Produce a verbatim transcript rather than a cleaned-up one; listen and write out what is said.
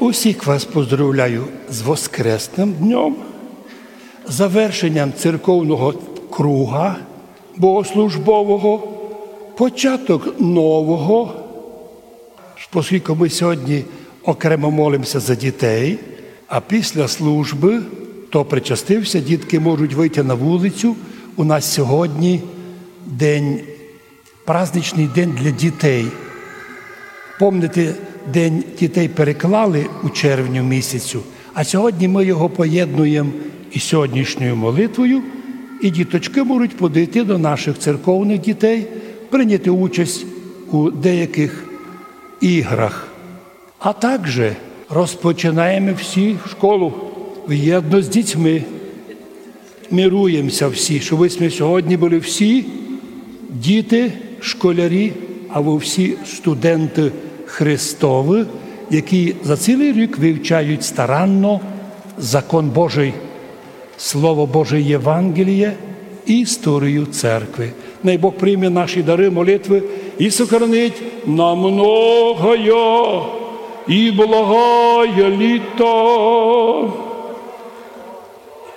Усіх вас поздоровляю з Воскресным днём, завершенням церковного круга богослужбового, початок нового. Поскільки ми сьогодні окремо молимося за дітей, а після служби, хто причастився, дітки можуть вийти на вулицю. У нас сьогодні день, праздничний день для дітей. Помните, День дітей переклали у червню місяцю, а сьогодні ми його поєднуємо із сьогоднішньою молитвою, і діточки можуть подойти до наших церковних дітей, прийняти участь у деяких іграх. А також розпочинаємо всі школу вєдно з дітьми. Мируємося всі, щоб ми сьогодні були всі діти, школярі, або всі студенти Христові, які за цілий рік вивчають старанно закон Божий, Слово Боже, Євангеліє і історію церкви. Най Бог прийме наші дары, молитвы і сохранить на многоє і благоє літо.